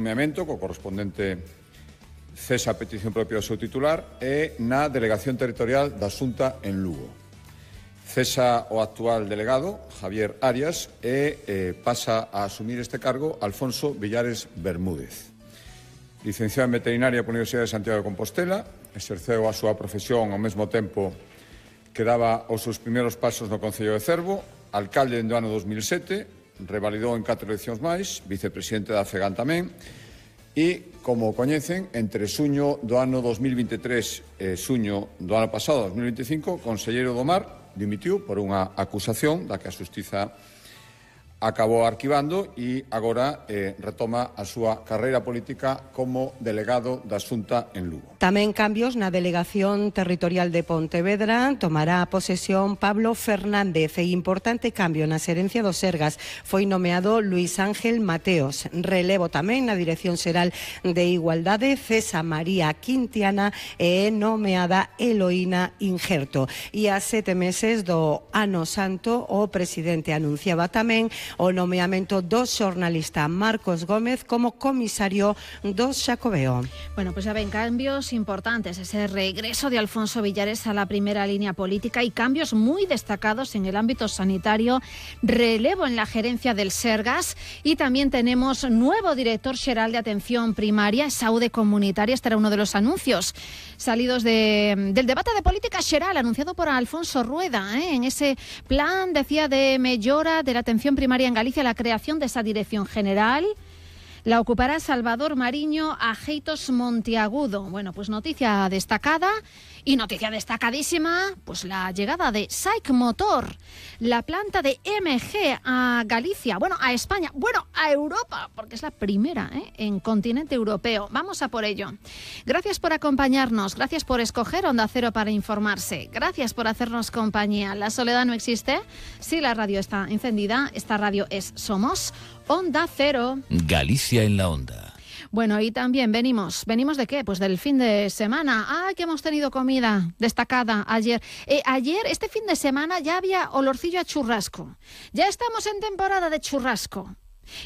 nomeamento co correspondente cesa a petición propia do seu titular e na Delegación Territorial da Xunta en Lugo. Cesa o actual delegado, Javier Arias, e pasa a asumir este cargo Alfonso Villares Bermúdez. Licenciado en Veterinaria pola Universidade de Santiago de Compostela, exerceu a súa profesión ao mesmo tempo que daba os seus primeiros pasos no Concello de Cervo, alcalde no ano 2007, revalidou en 4 eleccións máis, vicepresidente da FEGAN tamén, e, como coñecen, entre xuño do ano 2023 e xuño do ano pasado, 2025, o conselleiro do Mar dimitiu por unha acusación da que a Xustiza acabou arquivando e agora retoma a súa carreira política como delegado da Xunta en Lugo. Tamén cambios na Delegación Territorial de Pontevedra. Tomará posesión Pablo Fernández e importante cambio na xerencia do Sergas. Foi nomeado Luis Ángel Mateos. Relevo tamén na Dirección Xeral de Igualdade. Cesa María Quintiana e nomeada Eloína Injerto. E a 7 meses do Ano Santo, o presidente anunciaba tamén o nomeamento do xornalista Marcos Gómez como comisario do Xacobeo. Bueno, pues ya ven, cambios importantes, ese regreso de Alfonso Villares a la primera línea política y cambios muy destacados en el ámbito sanitario, relevo en la gerencia del Sergas y también tenemos nuevo director xeral de atención primaria e saúde comunitaria. Este era uno de los anuncios salidos del debate de política xeral anunciado por Alfonso Rueda, en ese plan, decía, de mellora de la atención primaria en Galicia, la creación de esa dirección general. La ocupará Salvador Mariño Ajeitos Monteagudo. Bueno, pues noticia destacada y noticia destacadísima, pues la llegada de SAIC Motor, la planta de MG a Galicia, bueno, a España, bueno, a Europa, porque es la primera en continente europeo. Vamos a por ello. Gracias por acompañarnos, gracias por escoger Onda Cero para informarse, gracias por hacernos compañía. La soledad no existe si la radio está encendida. Esta radio es Somos Onda Cero. Galicia en la Onda. Bueno, y también venimos ¿de qué? Pues del fin de semana. Que hemos tenido comida destacada ayer. Ayer, este fin de semana, ya había olorcillo a churrasco. Ya estamos en temporada de churrasco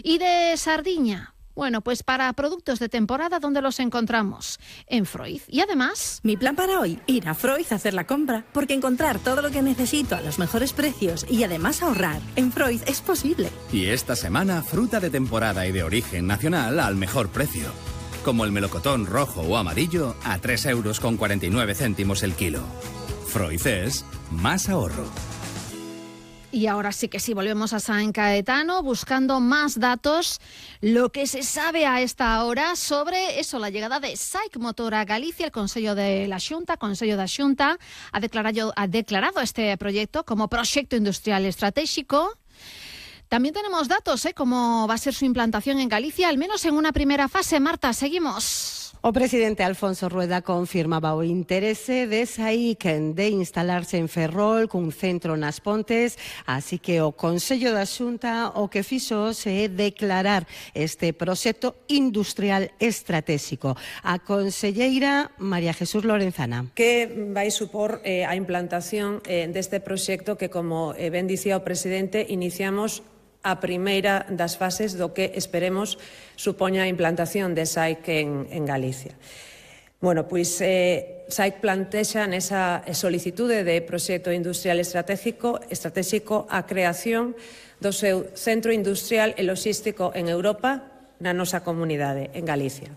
y de sardiña. Bueno, pues para productos de temporada, ¿dónde los encontramos? En Freud. Y además... Mi plan para hoy, ir a Freud a hacer la compra, porque encontrar todo lo que necesito a los mejores precios y además ahorrar en Freud es posible. Y esta semana, fruta de temporada y de origen nacional al mejor precio. Como el melocotón rojo o amarillo a 3,49 € el kilo. Freud es más ahorro. Y ahora sí que sí, volvemos a San Caetano buscando más datos, lo que se sabe a esta hora sobre eso, la llegada de SAIC Motor a Galicia. El Consello de la Xunta, ha declarado este proyecto como proyecto industrial estratégico. También tenemos datos, cómo va a ser su implantación en Galicia, al menos en una primera fase. Marta, seguimos. O presidente Alfonso Rueda confirmaba o interese de SAIC de instalarse en Ferrol cun centro nas Pontes, así que o Consello da Xunta o que fixo é declarar este proxecto industrial estratégico. A conselleira María Jesús Lorenzana. Que vai supor a implantación deste proxecto que, como ben dicía o presidente, iniciamos a primeira das fases do que esperemos supoña a implantación de SAIC en Galicia. Bueno, pois SAIC plantexa nesa solicitude de proxecto industrial estratégico a creación do seu centro industrial e logístico en Europa, na nosa comunidade, en Galicia.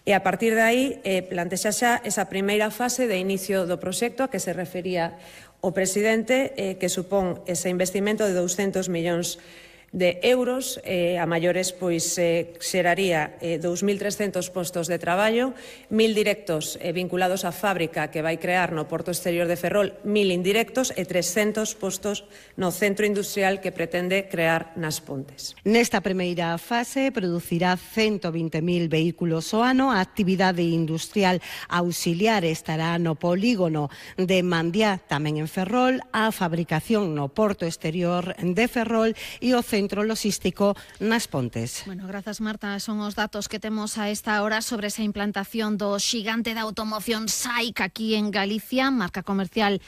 E a partir de aí plantexa xa esa primeira fase de inicio do proxecto a que se refería o presidente, que supón ese investimento de 200 millóns de euros, a maiores pois xeraría 2.300 postos de traballo, 1.000 directos vinculados á fábrica que vai crear no Porto Exterior de Ferrol, 1.000 indirectos e 300 postos no centro industrial que pretende crear nas Pontes. Nesta primeira fase producirá 120.000 vehículos ao ano. A actividade industrial auxiliar estará no polígono de Mandiá, tamén en Ferrol, a fabricación no Porto Exterior de Ferrol e o centro logístico nas Pontes. Bueno, grazas, Marta. Son os datos que temos a esta hora sobre esa implantación do xigante da automoción SAIC aquí en Galicia, marca comercial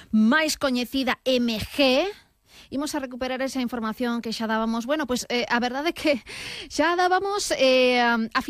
máis coñecida MG. Imos a recuperar esa información que xa dábamos. Bueno, pois a verdade é que xa dábamos a